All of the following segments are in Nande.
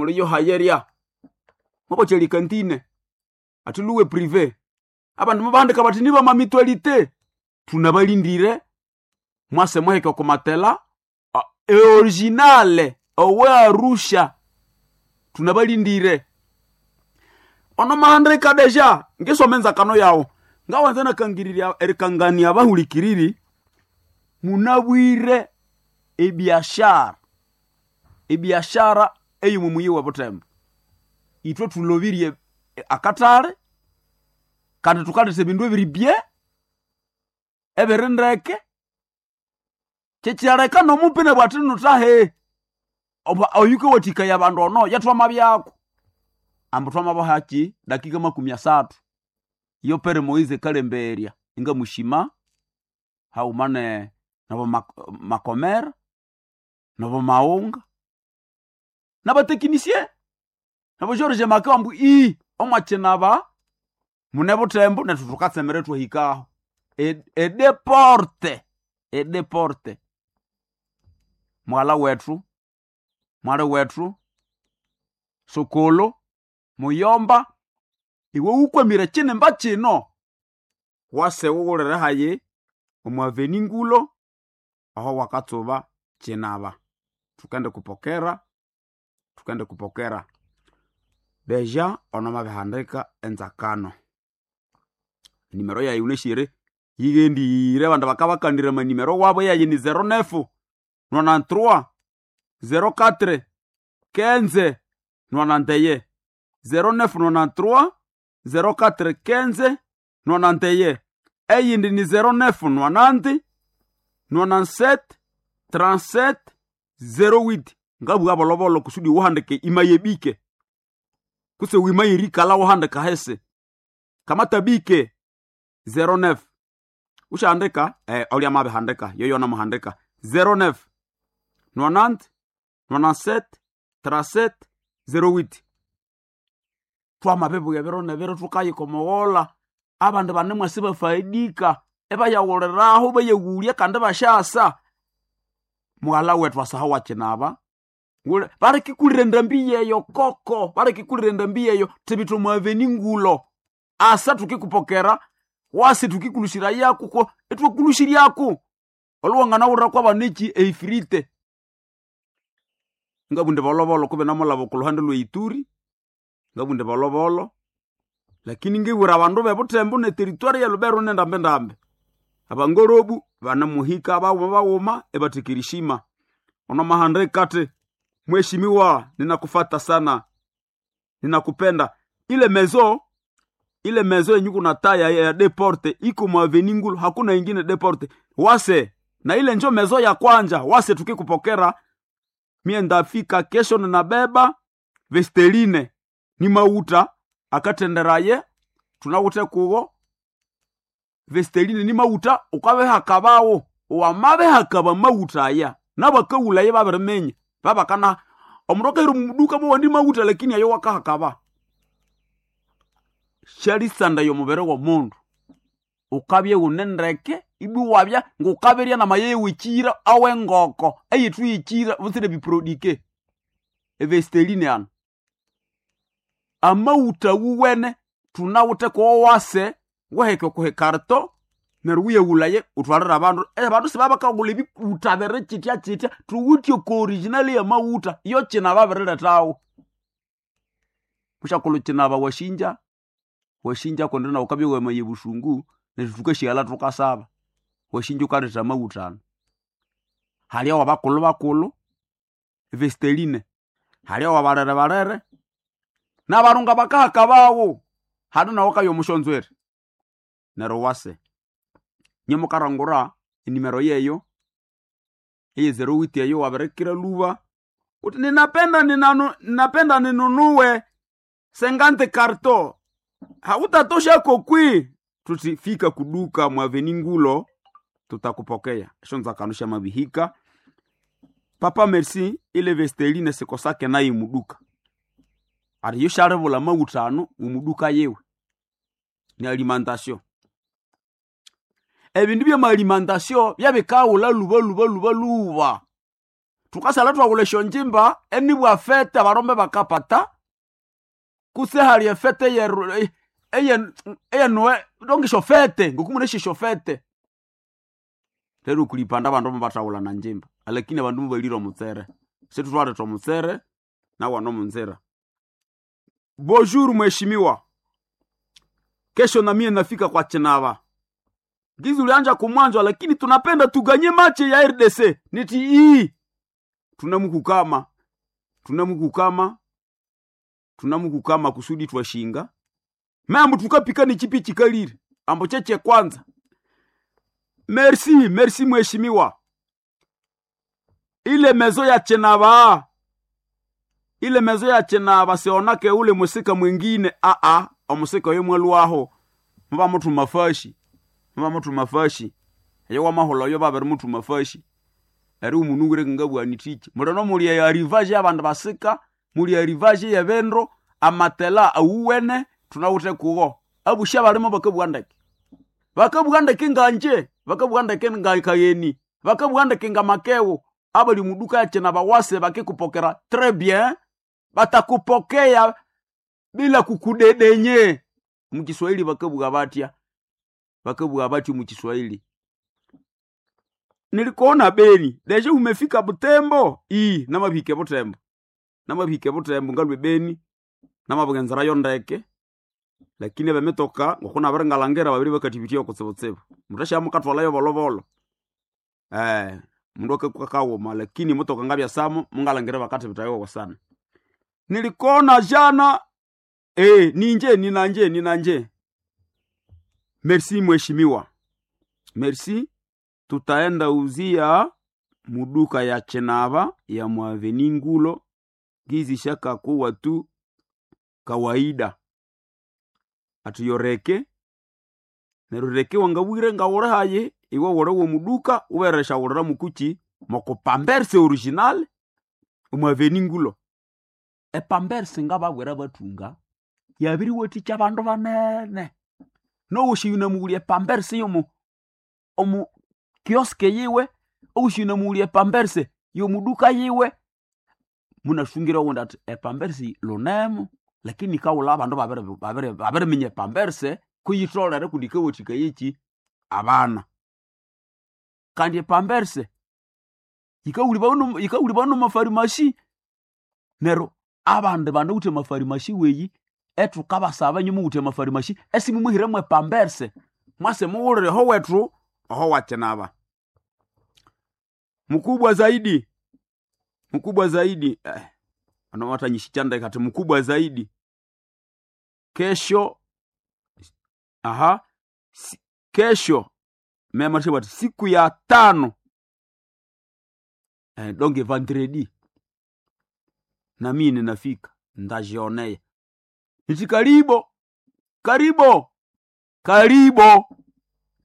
Muli yohayeria mwakocheli kantine ati luwe privé. Abandu mubahandika bati niba mamitualite tunabalindire mwase mwahike okumatela eoriginale owe Arusha tunabalindire ono mahandika deja ngisoma enzakano yawo ngawanza nakangirirya erikangania abahulikiriri munabwire ebiashara ebiashara ey'omu muyi wa Butembo. Ithwe thulobirie akatale kandi thukaletha ebindu ebiri bye ebiri ndeke kyekyaleka nomupina bwati nuthahe oyukawathikaya abandu ono yathwamabyako ambu thwamabahaki dakika 30 iyo Pere Moise kalemberya ingamushima haghuma nabo Makomera nabo Maunga nabatekinisie nabo George Makeo ambu ii omwakinaba mune Butembo nethu thukatsemera ithwahikaho edeporte edeporte mwala wethu mwali wethu sukulu muyomba iwe wukwamire kinimba kino wase wughulire hayi omu aveni ngulo aho wakatsuba kinaba thukende kupokera thukende kupokera deja ono mabihandika enzakano nimero yayi unashire yighendire abandu bakabakandira amanimero wabo yayi ni 09 93 04 15 91 09 93 04 15 91 eyindi ni 09 90 97 37 08 ngabugha bolobolo kusudi uhandike imayebike kuse wimayirikala uhandika hese kamatabike 09 ushaandika olya mabihandika yoyo namuhandika 09 90 97 37 08 twamabibuya biro nebiro thukayikomoghola abandu banemwasi bafaidika ebayaghuliraho bayaghulya kandi bashasa mughala wethu asaha wakinaba balikikulira endambi yeyo koko balikikulira endambi yeyo thibitha omwaveni ngulo asa thukikupokera wasi thukikulushira yaku ko ithwakulusiryaku olhuwanganawulira kwabaneki eifirite ngabunde bolobolo kube namulaba okuluhande lweituri ngabunde bolobolo lakini ngibwira abandu bebutembo neteritwari ya Lubero nendambendambe abangorobu banamuhika bawuma bawuma ebathikirishima ono mahandika ati mheshimiwa ninakufata sana ninakupenda ile mezo ile mezo yenye kuna taya ya deporte iko mwaveni ngulu hakuna ingine deporte wase na ile njo mezo ya kwanja wase tukikupokera mie ndafika kesho ninabeba vesteline ni mauta akatenderaye tunawute kuwo vesteline ni mauta ukabehakabawo wamabehakaba mauta aya nabakawulaye babiriminya babakana omundu akahira omuduka mowandi mauta lakini ayo wakahakaba syalisanda y'omubiri w'omundu ukabya wune ndeke ibwi wabya ngukabirya namaye wikira awengoko eyithu yikira butsire biprodike evesteline ano amauta wuwene thunawuthe kowase waheke okuhikarto neryo wuyaghulaye uthwalire abandu abandu sibabakaghulha ebiwuta biri kyitya kyitya thuwithe oko original yamawutha iyo kina babirilethawo mushakulhu kinaba washinja washinja kundi nawu ukabya wamaya obusungu neryo thukashyighalha thukasaba washinja ukaletha amawutha anu hali awabakulhu bakulhu evesteline hali awabalere balere nabarunga bakahaka bawo hali nawu ukabya omushonzwere neryo wase nyemukarangura enimero yeyo eye 08 eyo wabirikira lhuba uthi ninapenda ninanu ninapenda ninunuwe sengante karto hautatosha kokwi tuti fika kuduka mwaveni ngulo tutakupokea eshonzakano shamabihika papa merci ile vesteline sikosake naye muduka ati yoshalivula mawutha anu mumuduka yewe ni alimentation ebindu byama alimentation byabikawula luba luba luba luba. Tukasala twawula esyonjimba enibwa fete abarombe bakapata kutse hali efete eyenuwe donge esyofete ngokumuna esyofete. Rero kulipanda abandu mubathawula na njimba alakini abandu mubalire omutsere. Situtwaletha omutsere nawana omunzira. Bonjour mheshimiwa. Kesho na mie nafika kwa Chinava. Gizi ulianja kumwanzo lakini tunapenda tuganye mache ya RDC. Niti ii. Tunamukukama. Tunamukukama. Tunamukukama kusudi twashinga. Mambo tukapika ni chipi chikalire. Ambo cheche kwanza. Merci, merci mheshimiwa. Ile mezo ya Chinava. Ile mezo ya Chinava sionake ule musika mwingine a a omusika oyo mwalwaho. Muba mutu mafashi. Muba mutu mafashi. Eyo wamaholo oyo babere mutu mafashi. Eri umunugure ngabwani tiki. Mulano muli ya arrivage abandu basika, muli arrivage ya bendro, amatela awuwene tunawute kugo. Abusha balimo bakabwandeke. Bakabwandeke nganje, bakabwandeke ngakayeni, bakabwandeke ngamakewo. Abali muduka ya Chinava wase bakikupokera très bien, batakupokea bila kukudedenye. Mukiswahili bakabwa batya. Bakabwa batya mu Kiswahili. Nilikuona Beni, deje umefika Butembo? Ii, namabike Butembo. Namabike Butembo ngalwe Beni. Namabwenzera yondeke. Lakini bemetoka ngokuna barengalangera babiri bakatibitia okutsibutsibu. Mutasha mukatwalayo bolobolo. Mundu akakawoma lakini motoka ngabya samo mungalangera bakatibitayo sana. Nilikona jana ninje ninanje ninanje. Merci mheshimiwa. Merci. Tutaenda uzia muduka ya Chinava ya Mwaveni Ngulo gizi shaka kuwa tu kawaida. Atuyoreke nerureke wangabwire ngawore haye iwe wore wo muduka uberesha wurira mukuchi mokopamberse original Mwaveni Ngulo. Epamberse ngababwera batunga yabiriwathikya abandu banene. Nowushi yunamughulya epamberse yomu omu kioske yiwe, owushi yunamughulya epamberse yomuduka yiwe. Munasungira owundi athi epamberse lunemu lakini kawula abandu babiriminya epamberse kuyitholere kundi yikawathikaya abana. Kandi epamberse yikawulibwa nomafarimasi. Neryo abandu banawithe amafarimasi weyi ethukabasaba inywe muwithe amafarimasi esimumuhiremu epamberse mwase muwulire oho wethu oho wakinaba. Mkubwa zaidi. Mkubwa zaidi. Ano watanyishichandeka ati mkubwa zaidi. Kesho aha kesho mema bati siku ya 5 donge vendredi na mimi ninafika ndajionea. Niti karibo karibo karibo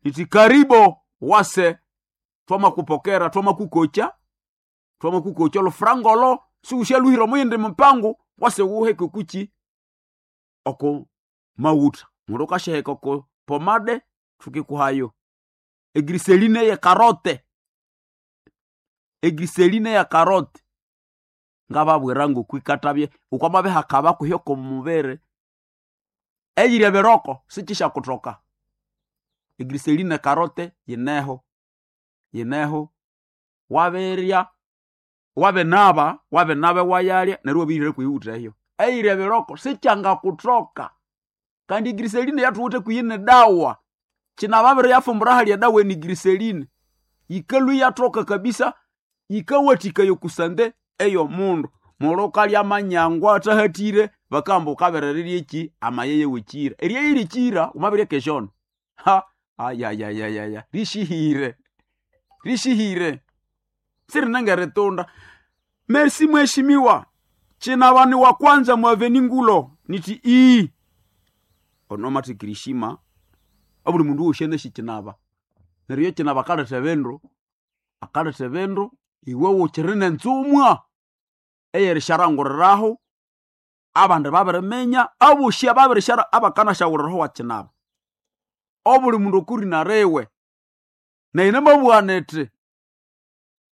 niti karibo wase twama kupokera twama kukocha twama kukocha lo frangolo siushaluhira muyindi mpango wase wuheke kuchi oko mauta mundu kasheheka oko pomade tukikuhayo egriseline ya karote egriseline ya karote ngababwira ngokwikatabye ukwamabe hakaba kuhyoko mubere eyirya biroko sikisha kutoka egriseline karote yineho yineho waberya wabenaba wabenabe wayalya neryo wabirire kuyiwutha eyo eyirya biroko sikyanga kutoka kandi griseline yathuwithe kuyine dawa kinababere yafumbura halya dawa eni griseline yikalwa yathoka kabisa yikawathikaya okusande eyo mundu mulo kalya amanyangwa athahathire bakamba wukaberererya eki amayeye wekira eryeyiri kira wamabirya keshono ha ayayayaya rishihire rishihire sirinengeritunda. Merci mheshimiwa chinavani wa kwanza mwaveni Ngulo niti ii onomathikirishima obuli mundu wosi eneshi chinava neryo chinava akaletha ebindu akaletha ebindu iwe wukiri nenzumwa eyerisharanguriraho abandu babiriminya abosi ababirishara abakanashawuriraho wakinaba obuli mundu okurina riwe nayi namabugha nithi.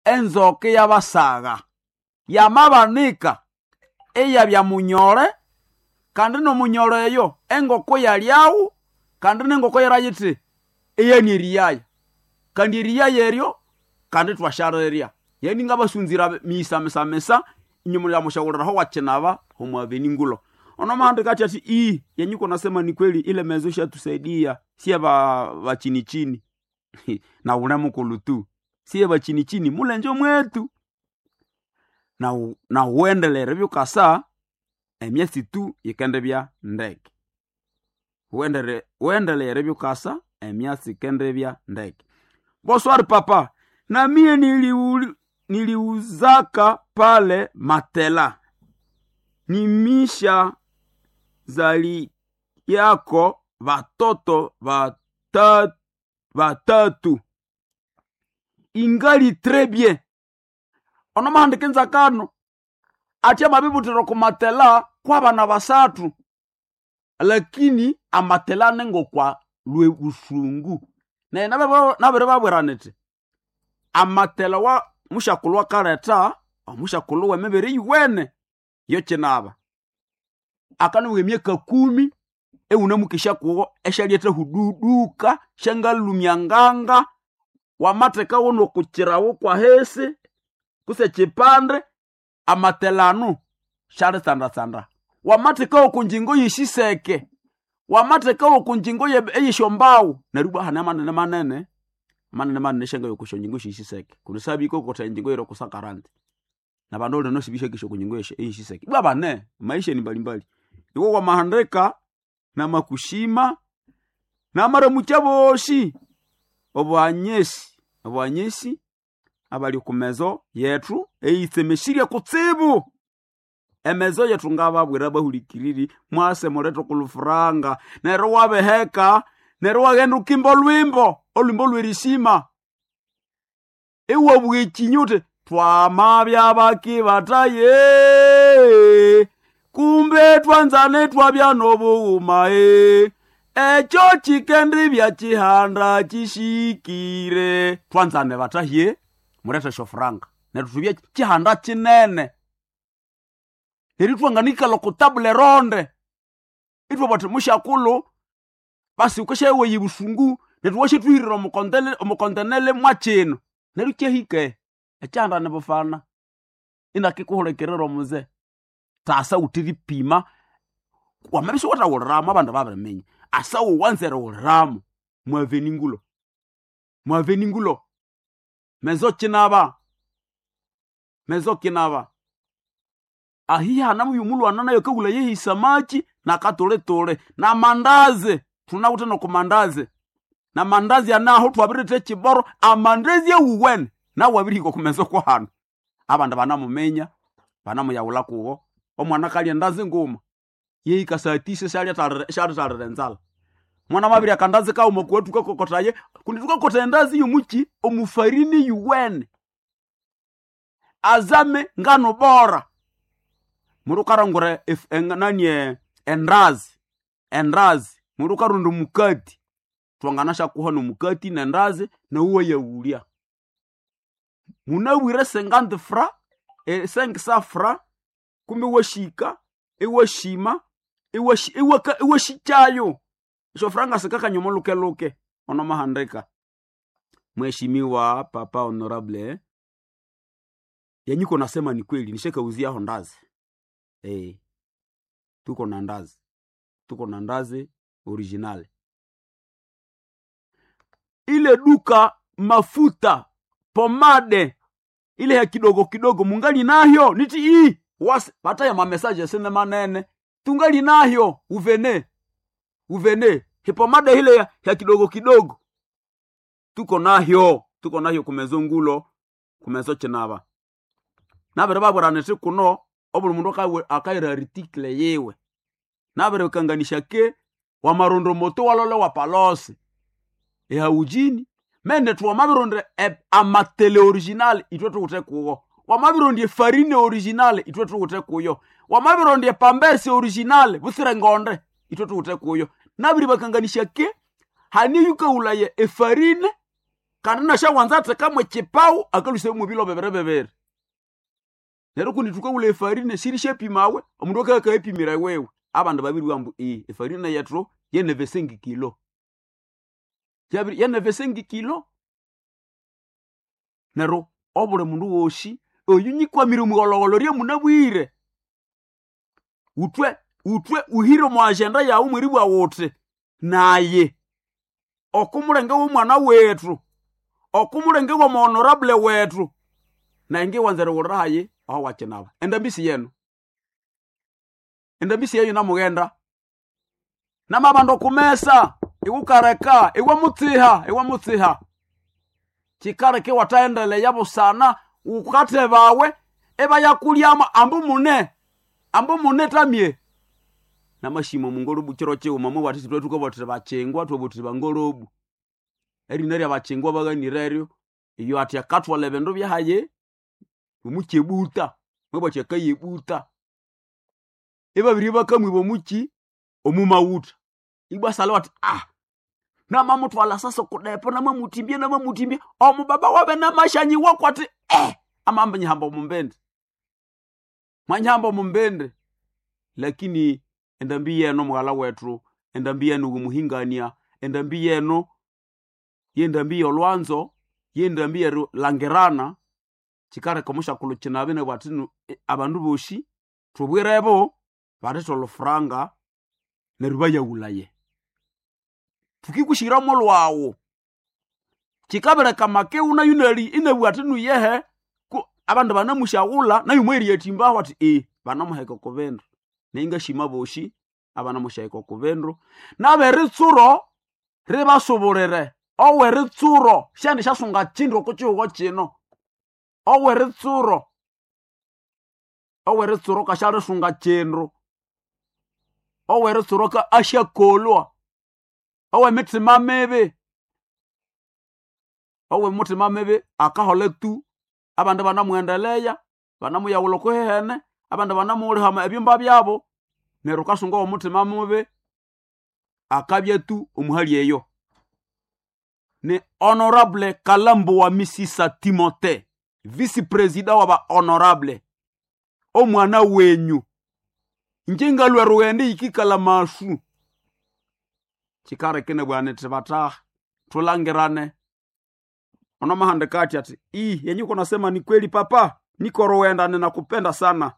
Enzoka yabasaga yamabanika eyabya munyole kandi nomunyole eyo engoko yalyawo kandi nengoko yarayiti eyani eriyaya kandi eriyaya eryo kandi twasharirya. Yani ngabasunzira misa inyuma ya mushauriraho wakinaba omwaveni ngulo ono mahandika ati ati ii yenyuko nasema ni kweli ile mezo shatusaidia sie ba chini chini na une mukulu tu sie ba chini chini mulenje mwetu na na uendelere byukasa emyesi tu yikende bya ndeke uendelere byukasa emyasi ikende bya ndeke. Bonsoir papa, na mie niliuzaka pale matela nimisha zali yako vatoto vatatu ingali très bien. Ono mahandika nzakano ati amabibutiro kumatela kwa bana basatu, lakini amatela nengo kwa lwe busungu naye nabere babwiraniti amatela wa mushakulu wakaleta omushakulu wemibiri yiwene yokinaba akanuwa emyaka 10 ewunamukesha kuwo eshalyetha hududuka shangalumya nganga wamatheka wono kukirawo kwahesi kuse chipande amatelano shalitsandatsanda wamathekawo kunjingo yeshiseke wamathekawo kunjingo eyeshombawo neryo ibwa hane manene manene manene manene shanga yokusho njingo shishiseke kunisabiko kotha enjingo yero kusakarante na bandu lino sibishakisho kunjingo eyeshiseke ibwa bane maisha ni mbalimbali iwo wamahandika na makushima na maramucha boshi obwanyesi abali kumezo yetu eyitsemesirye kutsibu emezo yetu ngababwira bahulikiriri mwase mulethe kulufuranga neryo wabeheka neryo waghenda ukimba olwimbo olwimbo lwerishima iwabugha ekinyu uthi twamabya bakibataye kumbe twanzane twabya nobughuma ekyo kikendibya kihanda kishikire twanzane batahye mulethe esyofuranga neryo tubye kihanda kinene neryo itwanganikala oko tabule ronde ithwabugha thuthi mushakulhu basi wukasyayowa ebusungu neryo washathuhirira omukontenele mwakino neryo kyahika ekyihanda nibufana inakikuhulikirira omuze tasa wuthiripima wamabya isiwuthaghuliramu abandu babiriminya asa wuwanza erighuliramu mwaveni ngulo mezo kinaba ahihi hanamu yomulwana nayo akawulha yehisamaki nakatulituli namandazi thunawithe nokumandazi namandazi anaho thwabiritha ekiboro amandazi awuwene nawu abirihika okumezo kwahanu abandu banamuminya banamuyaghulha kuwo omwana akalya endazi nguma yehika saa tisa syalithalira enzalha mwana amabirya akandazi kaghuma kuwa thukakokothaya kundi thukakotha endazi yomuki omufarini yuwene azame ngano bora mundu ukarongora endazi mundu ukaronda omukati twanganasyakuha nomukati nendazi nawu wayaghulya munabwire 50 fra 500 fra kumbe iwashika iwashima iwashikyayo esyofuranga sikakanya omolukeluke onomahandika. Mheshimiwa papa honorable yenyiko nasema ni kweli nishakauziaho ndazi tuko na ndazi original ile duka mafuta pomade ile ya kidogo kidogo mungali nayo niti ii wasi bataya mamesaje sine manene tungali nayo uvene hipomade ile ya kidogo kidogo tuko nayo kumezo ngulo kumezo chinaba nabere babwirana kuno obuli mundu akaira article yiwe nabere kanganisha ke wamarondo moto walole wapalose ehaujini mende tuwamabironde amatele original itwe tuwuthe kuwo wamabirondye farine original itwe tuwuthe kuyo wamabirondye pamberse original busire ngonde itwe tuwuthe kuyo nabiri bakanganisha ke hani yukaulaye efarine Kandi nashawanza athekamwe chipau akaluse mubilo bebere bebere. Neryo kundi tukawula efarine sirishapimawe omundu akakayipimira wewe. Abandu babiri wambu i efarine yethu yenevesengi kilo. Yabiri yenevesengi kilo. Neryo obuli mundu wosi oyu nyikwamire omughologolo ryemunabwire. Utwe utwe uhire omu agenda yawu mweribwa wuthi naye okumulenge w'omwana wethu okumulenge w'omuhonorable wethu naye ngiwanza eriwulira hayi aho wakinaba endambisi yenu endambisi yeyu namughenda namabandu okumesa iwukareka iwamutsiha iwamutsiha kikareka iwathaendeleya busana wukathebawe ebayakulyamo ambu mune ambu mune tamye namashima omungorobu kiro kighuma mubwati sithwe thukabwatire bakingwa thwabwatire bangorobu erina rya bakingwa baghanireryo iyo athi akathwala ebindu byahaye omukyebuta mwabwati akayebuta ibabiri bakamwiba omuki omumawutha ibwasalha wathi ah namamuthwala sasa kudepo namamutimbya namamutimbya omubaba wabe namashanyiwa kwati eh amamba nyihamba omumbende mwanyihamba omumbende lakini endambi yeno mughala wethu endambi yenu kumuhingania endambi yeno yendambi yolwanzo yendambi yerilangirana kikareka omushakulhu kinabi nabwati nu abandu bosi thubwirebo balethe olufuranga neryo bayaghulaye thukikusihiramo lwawu kikabireka makeu nayu nali inabugha athi nuyehe ku abandu banamusyaghulha nayu mweriyathimbaho athi e banamuheka oko bindu naye ngashima bosi abanamusyaheka oko bindu naberitsuro ribasubulire oweritsuro syandi syasunga kindu oko kihugho kino oweritsuro oweritsuro kasyalisunga kindu oweritsuro ka asyakolwa owemithima mibi owemuthima mibi akahola tu abandu banamughendeleya banamuyaghulha okuhehene abandu banamughulihama ebyumba byabo neryo kasunga owomuthima mubi akabya tu omuhali eyo ni honorable Kalambo wa Misisa Timote vice president wa ba honorable omwana wenyu inje ngalwa rughende yikikala masu kikarekene bwana thibataha thulangirane ono mahandika ati ati ii yenye uko nasema ni kweli papa niko rughenda ninakupenda sana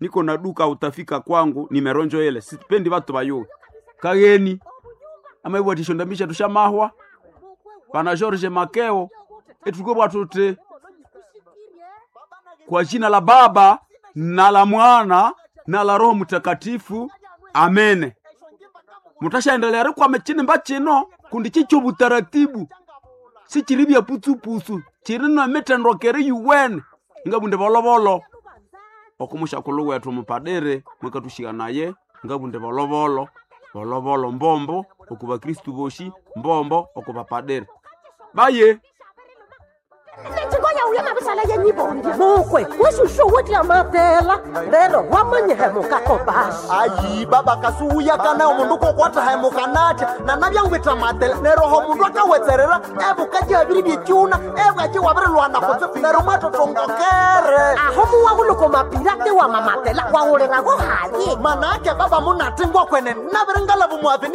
niko na duka utafika kwangu nimeronjo ile sipendi watu bayuwe kageni amaibwatisho ndambisha tushamahwa bana George Makeo etukobwa tuti kwa jina la Baba na la Mwana na la Roho Mtakatifu, amene. Mutashaendelea rikwame chinimba chino kundi chicho butaratibu sichiri bya putsupusu chiri na mitendokere yuwene ngabunde bolobolo okumushakulhu wethu mupadere mwakatushika naye ngabunde bolobolo bolobolo mbombo oku bakristu boshi mbombo oku bapadere baye Chingoya uye mabisala yenyibondi mukwe weshushu wotla matela rero wamanyihemuka kobasi ayi baba kasuwuyakana omundu kokwathahemuka natya nanabyangwitha matela neryo oho mundu akawetserera ebukaji byekyuna ebwaki wabirilwana kutse neryo mwatotongokere aho muwahuluko mapirate wa mamatela wawulirago haye manake baba munatingwa kwene nabiringalavu muaveni.